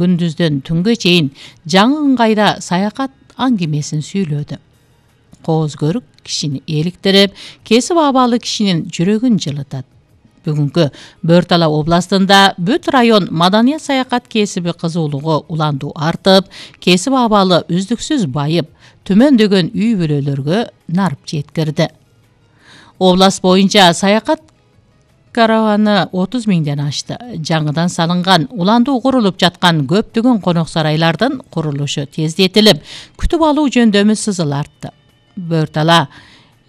күндүздөн түнгө чейин жаңы ыңгайда саякат аңгемесин сүйлөдү. Кооз көрүк кишини эликтирип, кесип абалы кишинин жүрөгүн жылытат. Бүгүнкү Бөр-Тала областында бүт район маданият саякат кесиби кызуулугу уландуу артып, кесип абалы үздүксүз байып, төмөндөгөн үй бүлөлөргө нарып жеткирди. Област боюнча саякат караваны 30 миңден ашты. Жаңыдан салынган, уландуу курулуп жаткан көптөгөн конок сарайлардын курулушу тездетилип, күтүп алуу жөндөмү сызыл артты. Бөр-Тала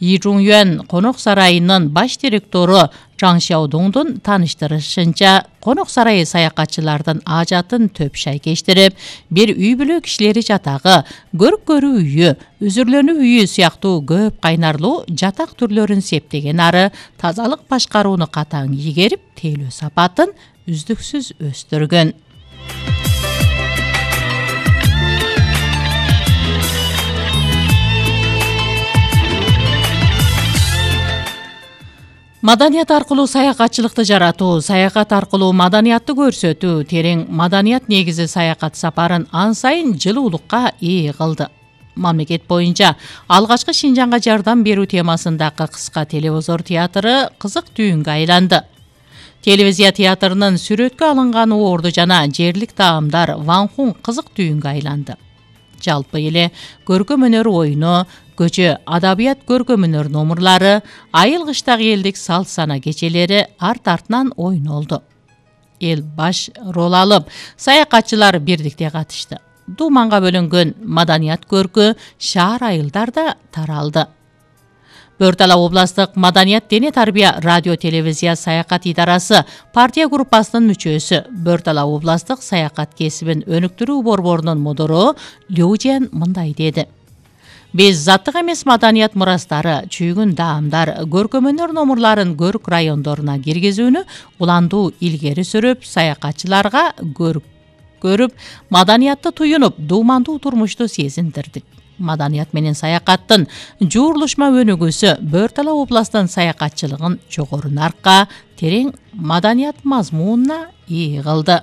Йижуңюан конок сарайынын баш директору Чаң Шаодуңдун тааныштырышынча, конок сарайы саякатчылардын ажатын төп шай кештирип, бир үй бүлө кишилери жатагы, көрүк көрүү үйү, үзүрлөнүү үйү сыяктуу көп кайнарлуу жатак түрлөрүн септеген ары тазалык башкарууну катаң ийгерип, тейлөө сапатын үздүксүз өстүргөн. Маданият аркылуу саякатчылыкты жаратуу, саякат аркылуу маданиятты көрсөтүү, терең маданият негизи саякат сапарын ан сайын жылуулукка ээ кылды. Мамлекет боюнча алгачкы Шинжаңга жардам берүү темасындагы кыска телевизор театры кызык түйүнгө айланды. Телевизия театрынын сүрөткө алынган орду жана жерлик таамдар Ванхун кызык түйүнгө айланды. Жалпы эле көркөм өнөр оюну, көчө адабият көркөм өнөр номурлары, айыл кыштагы элдик салт сана кечелери арт-артынан ойнолду. Эл баш рол алып, саякатчылар бирдикте катышты. Дууманга бөлөнгөн маданият көркү шаар айылдарда таралды. Бөр-Тала областык маданият дене тарбия радио телевизия саякат идарасы партия группасынын мүчөсү, Бөр-Тала областык саякат кесибин өнүктүрүү борборунун мудуру Лёжен мындай деди. Биз заттык эмес маданият мурастары, чүйгүн даамдар, көркөм өнөр номурларын көрүк райондоруна киргизүүнү уландуу илгери сүрүп, саякатчыларга көрүп, маданиятты туюнуп, дуумандуу турмушту сезиндирдик. Маданият менен саякаттын жуурулушма өнүгүүсү Бөр-Тала областынын саякатчылыгын жогору наркка, терең маданият мазмунуна ээ кылды.